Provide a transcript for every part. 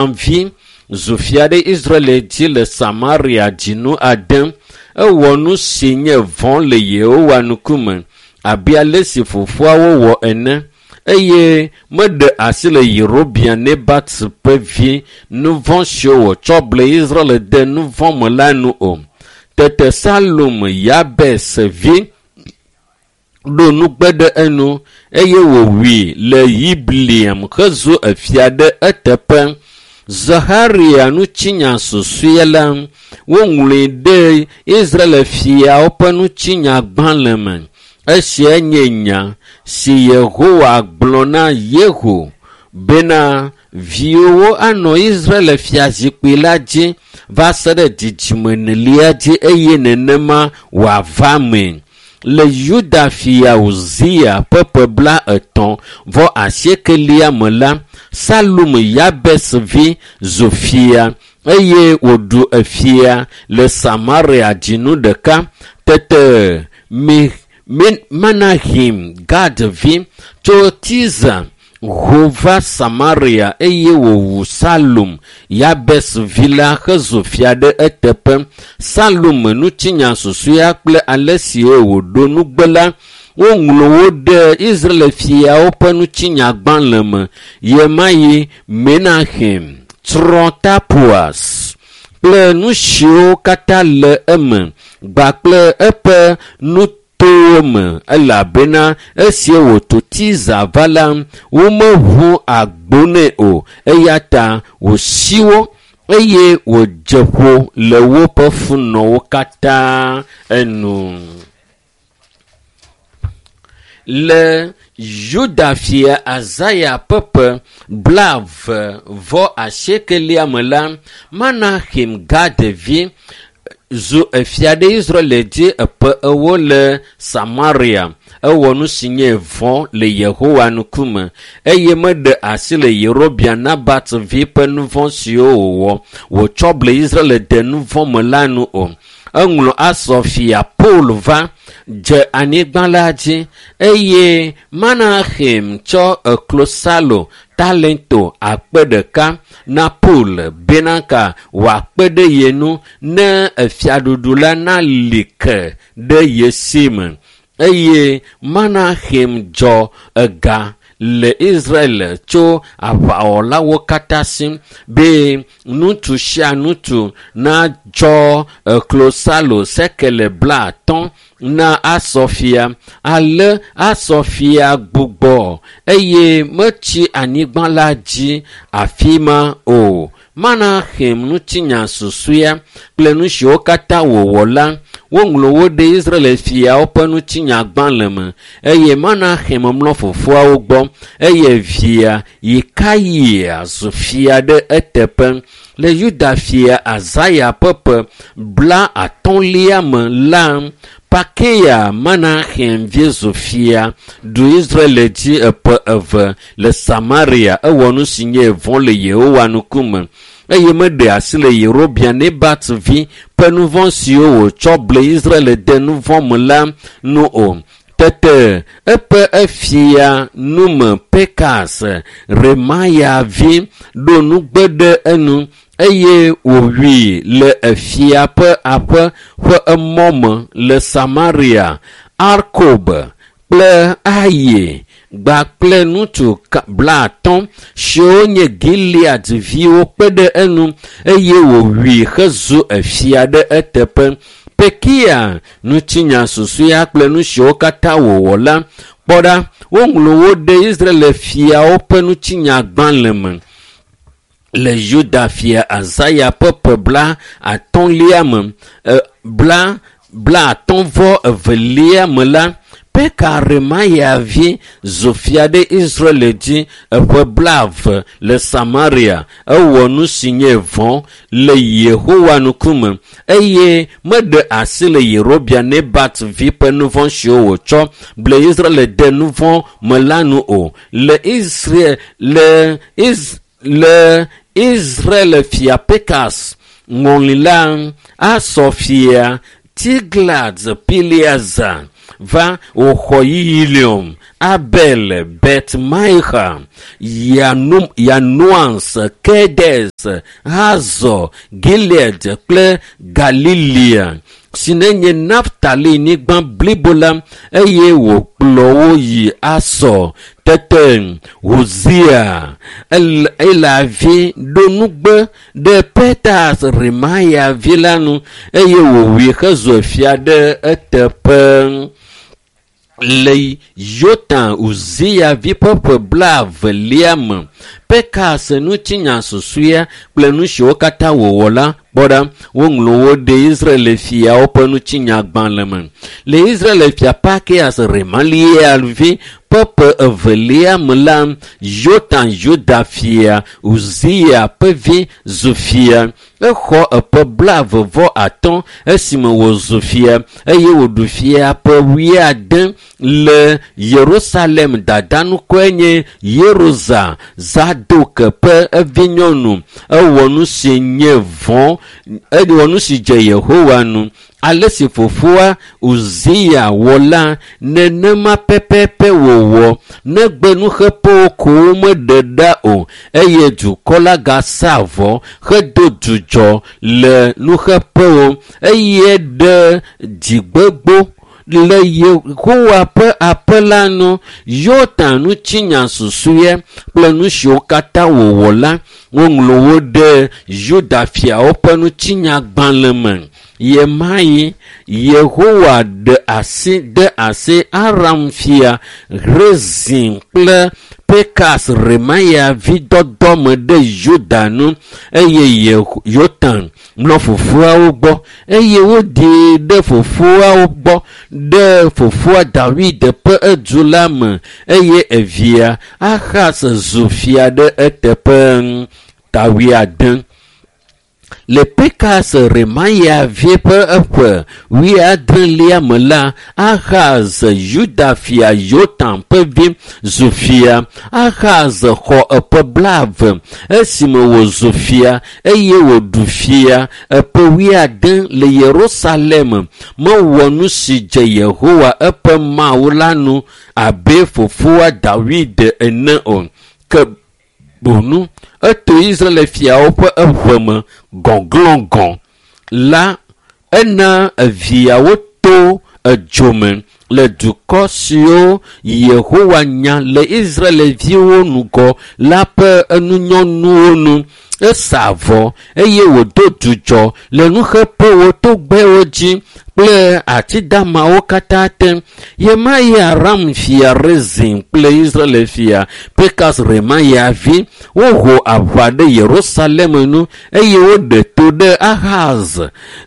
vi zu fia ɖe Israel dzi le Samaria dzinu ade. Ewɔ nu si nye vɔ̃ le Yehowa ŋkume abe ale si fofoawo wɔ ene eye meɖe asi le Yerobeam Nebat ƒe vi nu vɔ̃ siwo wòtsɔ ble Israel de nu vɔ̃ me la nu o. Tete Salum Yabes vi ɖo nugbe ɖe enu eye wòwui le Yibleam hezu efia ɖe eteƒe. Zaharia ŋutinya susɔe la, woŋlɔe ɖe Israel fiawo ƒe ŋutinyagbalẽ me. Esia nye nya si Yehowa gblɔ na Yehu bena viwòwo anɔ Israel fiazikpui la dzi va se ɖe dzidzime enelia dzi eye nenema wòava mee. Le Yuda fia Uzia ƒe ƒe blaetɔ̃ vɔ asiekelia me la, Salum Yabes vi zu fia eye wòɖu efia le Samaria dzinu ɖeka. Tete Mi Menahim Gad vi tso Tirza ho va Samaria eye wòwu Salum Yabes vi la hezu fia ɖe eteƒe. Salum ŋutinya susɔea kple ale si wòɖo nugbe la, woŋlɔ wo ɖe Israel fiawo ƒe ŋutinyagbalẽ me. Ɣemaɣi Menahem tsrɔ̃ Tapuas kple nu siwo katã le eme kpakple eƒe nutowo me elabena esi wòto Tirza va la, womeʋu agbo nɛ o eya ta wòsi wo eye wòdze ƒo le woƒe funɔwo katã enu. Le Yuda fia Azaya ƒe ƒe blaeve vɔ asiekelia me la, Menahim Gad vi zu efia ɖe Israel dzi eƒe ewo le Samaria. Ewɔ nu si nye vɔ̃ le Yehowa ŋkume eye meɖe asi le Yerobeam Nebat vi ƒe nu vɔ̃ siwo wòwɔ wòtsɔ ble Israel de nu vɔ̃ me la nu o. Eŋlɔ Asur fia Pul va dze anyigba la dzi eye Menahem tsɔ eklosalo talento akpe ɖeka na Pul bena ka wòakpe ɖe ye ŋu ne efiaɖuɖu la nali ke ɖe ye si me. Eye Menahem dzɔ ega le Israel tso aʋawɔlawo katã si be ŋutsu sia ŋutsu natsɔ klosalo sekele blaatɔ̃ na Asur fia. Ale Asur fia gbugbɔ eye metsi anyigba la dzi afi ma o. Menahem ŋutinya susɔea kple nu siwo katã wòwɔ la, woŋlɔ wo ɖe Israel fiawo ƒe ŋutinyagbalẽ me eye Menahem mlɔ fofoawo gbɔ eye via Yikayia zu fia ɖe eteƒe. Le Yuda fia Azaya ƒe ƒe blaatɔ̃lia me la, Pakeya Menahem vi zu fia ɖu Israel dzi eƒe eve le Samaria. Ewɔ nu si nye vɔ̃ le Yehowa ŋkume eye meɖe asi le Yerobeam Nebat vi ƒe nu vɔ̃ siwo wòtsɔ ble Israel de nu vɔ̃ me la nu o. Tete eƒe efia nume Pekas Remaya vi ɖo nugbe ɖe enu eye wòwui le efia ƒe aƒe ƒe emɔ me le Samaria. Arkob kple Aye kpakple ŋutsu blaatɔ̃ siwo nye Gilead viwo kpe ɖe enu eye wòwui hezu efia ɖe eteƒe. Pekia ŋutinya susɔea kple nu siwo katã wòwɔ la, kpɔ ɖa, woŋlɔ wo ɖe Israel fiawo ƒe ŋutinyagbalẽ me. Le Yuda fia Azaya ƒe ƒe blaatɔ̃lia me, bla blaatɔ̃ vɔ evelia me la, Peka Remaya vi zu fia ɖe Israel dzi eƒe blaeve le Samaria. Ewɔ nu si nye vɔ̃ le Yehowa ŋkume eye meɖe asi le Yerobeam Nebat vi ƒe nu vɔ̃ siwo wòtsɔ ble Israel de nu vɔ̃ me la nu o. Le Israel le Iz le Israel fia Pekas ŋɔli la, Asur fia Tiglat Pileser va wòxɔ Yilium, Abel, Bet Maixa, Yanoas, Kedes, Hazor, Gilead kple Galilea si nenye Naftali nyigba blibo la eye wòkplɔ wo yi Asɔ. Tete Hosea Ela vi ɖo nugbe ɖe Petas Remaya vi la nu eye wòwui hezu fia ɖe eteƒe. Le Yotam Uzia vi ƒe ƒe blaevelia me, Pekas ŋutinya susɔea kple nu siwo katã wòwɔ la kpɔ ɖa, woŋlɔ wo ɖe Israel fiawo ƒe ŋutinyagbalẽ me. Le Israel fia Pakeas Remalia vi ƒe ƒe evelia me la, Yotam Yuda fia Uzia ƒe vi zu fia. Exɔ eƒe 35 esime wòzu fia eye wòɖu fia ƒe 70 le Yerusalem. Dada ŋkɔe nye Yerusa, Zadok ƒe evinyɔnu. Ewɔ nu si nye vɔ̃, ewɔ nu si dze Yehowa nu. Ale si fofoa Uzia wɔ la, nenema pɛpɛpɛ wòwɔ. Negbe nuxeƒewo ko womeɖe ɖa o eye dukɔ la gasa vɔ hedo dzudzɔ le nuxeƒewo eye ɖe dzigbegbo le Yehowa ƒe aƒe la nu. Yotam ŋutinya susɔea kple nu siwo katã wòwɔ la, woŋlɔ wo ɖe Yuda fiawo ƒe ŋutinyagbalẽ me. Yemayi Yehowa ɖe asi de asi Aram fia Rezin kple Pekas Remaya vi dɔdɔ me ɖe Yuda nu eye Yotam mlɔ fofoawo gbɔ eye woɖee ɖe fofoawo gbɔ ɖe fofoa Dawid ƒe edu la me eye evia Ahaz zu fia ɖe eteƒe. Ta 80. Le Pekas Remaya vi ƒe eƒe 70lia me la, Ahaz Yuda fia Yotam ƒe vi zu fia. Ahaz xɔ eƒe 20 esime wòzu fia eye wòɖu fia eƒe 70 le Yerusalem. Mewɔ nu si dze Yehowa eƒe Mawu la nu abe fofoa Dawid ene o. Ke bonu eto Israel fiawo ƒe eʋe me gɔglɔ̃gɔ̃ la, ena eviawo to edzome le dukɔ siwo Yehowa nya le Israelviwo ŋgɔ la ƒe enunyɔnuwo nu. Esa avɔ eye wòdo dzudzɔ le nuxeƒewo, togbɛwo dzi kple atidamawo katã te. Yemayi Aram fia Rezin kple Israel fia Pekas Remaya vi woho aʋa ɖe Yerusalem nu eye woɖe to ɖe Ahaz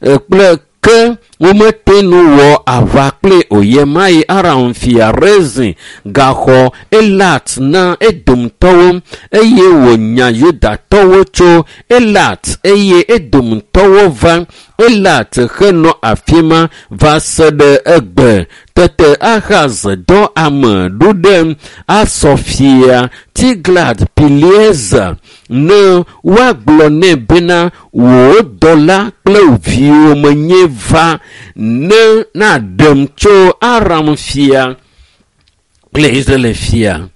kple ke womete nu wɔ aʋa kple o. Yemayi Aram fia Rezin gaxɔ Elat na Edomtɔwo eye wònya Yudatɔwo tso Elat eye Edomtɔwo va Elat henɔ afi ma va se ɖe egbe. Tete Ahaz dɔ ame ɖo ɖe Asɔ fia Tiglat Pileser ne woagblɔ nɛ bena wò dɔla kple viwò menye va ne naɖem tso Aram fia kple Israel fia.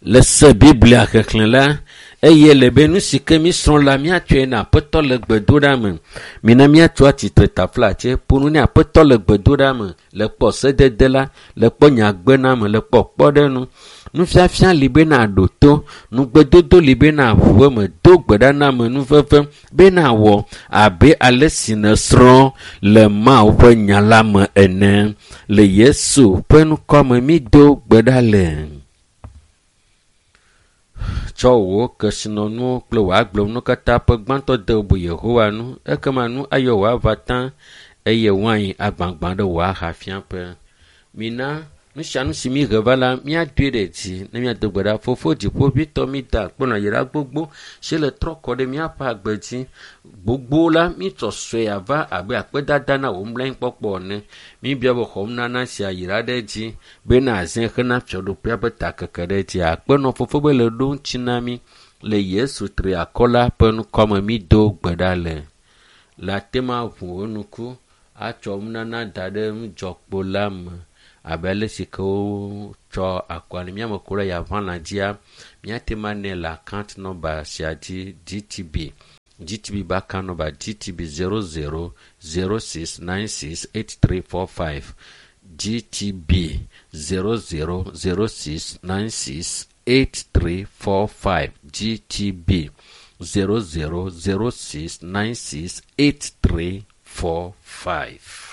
Le se Biblia xexlẽ la, eye le be nu si ke mísrɔ̃ la míatsɔe na Aƒetɔ le gbedoɖa me. Mina míatso atsitre taflatse ƒo nu ne Aƒetɔ le gbedoɖa me, le kpɔ sedede la, le kpɔ nyagbename, le kpɔ kpɔɖeŋu. Nufiafia li be naɖo to, nugbedodo li be naʋu eme, do gbe ɖa na amenuveve be nawɔ abe ale si nèsrɔ̃ le Mawu ƒe nya la me ene. Le Yesu ƒe ŋkɔ me mído gbe ɖa le. Tsɔ wò kesinɔnuwo kple wò agblemenuwo katã ƒe gbãtɔ de bubu Yehowa nu, ekema nu ayɔ wò ava tã eye wain agbagbã ɖe wò ahafiaƒe. Mina nu sia nu si míhe va la, míadoe ɖe dzi ne míado gbe ɖa. Fofo dziƒoʋĩtɔ, mída akpe nɔ yayra gbogbo si le trɔ kɔ ɖe míaƒe agbe dzi. Gbogbo la, mítsɔ sue ava abe akpedada na wò mlɔenyikpɔkpɔ ene. Míbia be xɔnunana sia yra ɖe edzi bena azẽ hena fiaɖuƒea ƒe takeke ɖe edzi. Akpe nɔ fofo be le ɖo ŋuti na mí le Yesu triakɔ la ƒe ŋkɔme mído gbe ɖa le. Le ate ma ʋu wò ŋku atsɔ nunana da ɖe nudzɔkpo la me. Abe ale si ke wotsɔ akɔa ne míame ku ɖe yaʋãna dzia, míate ŋu anɛ le account number sia dzi GTB. GTB be account number GTB 0006968345. GTB 0006968345. GTB 0006968345.